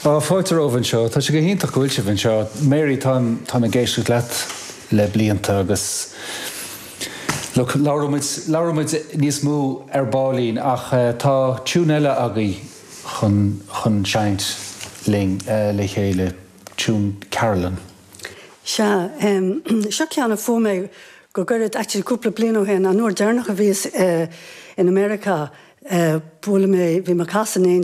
Á, fáilte romhaibh anseo. Tá sé go hiontach go bhfuil sibh anseo. Mary, táim, táim ag éisteacht leat le blianta agus look, labhróidh muid, labhróidh muid níos mó ar baillín ach tá tune eile agaibh chun, chun seinnt linn le chéile, tune Carolyn. Sea, seo ceann a fuair mé go gairid, actually cúpla bliain ó shin, an uair deireanach a bhíos in America, bualadh mé, bhí mé ag casadh in.